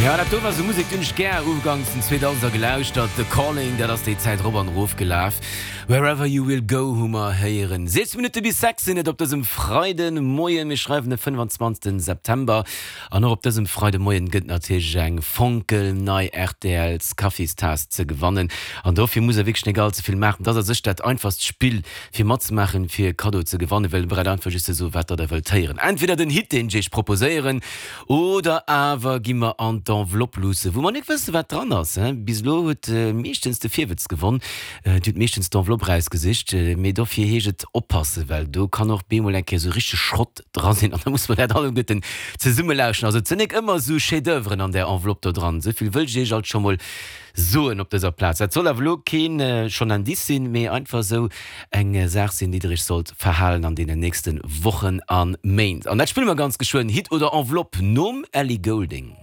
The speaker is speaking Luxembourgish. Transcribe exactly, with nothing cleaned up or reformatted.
Ja, dat do war sou Musek, déi hunn ech gär ugangs den Zweedausender gelauschtert. The Calling, dat ass déi Zäit rop an erof gelaf. Wherever You Will Go hu mer héieren. Siechzéng Minutte bis sechs sinn et op dësem Freidemoien. Mir schreiwen de fënnwanzwanzegsten September. An och op dësem Freidemoien gëtt natierlech eng fonkelnei R T Ls Kaffistaass ze gewannen. An dofir musst der wierklech net all ze vill maachen. Dat ass a sech dat einfachst Spill fir matzemaachen, fir e Kaddo ze gewannen, well der braucht einfach just ze soen, wat der da wëllt héieren. Entweder den Hit, deen ech iech proposéieren, oder awer gi mer an d'Enveloppe luussen, wou mer net wëssen, wat dran ass. Bis elo huet meeschtens de Virwëtz gewonn. Dir hutt meeschtens d'Enveloppe rausgesicht. Mee dofir heescht et oppassen, well do kann och bemol eng Kéier sou richteg Schrott dra sinn an da muss mer dat alleguerten zesumme lauschen. Also et sinn nik ëmmer sou Chef-d'oeuvren an där Enveloppe do dran. Sou vill wëll ech iech alt scho mol soen op dëser Plaz. Dat soll awer elo keen schonn Indice sinn, mee einfach sou eng Saach sinn, déi der iech sollt verhalen an deenen nächste Wochen a Méint. An dat spille mer ganz geschwënn, Hit oder Enveloppe nom Ellie Goulding.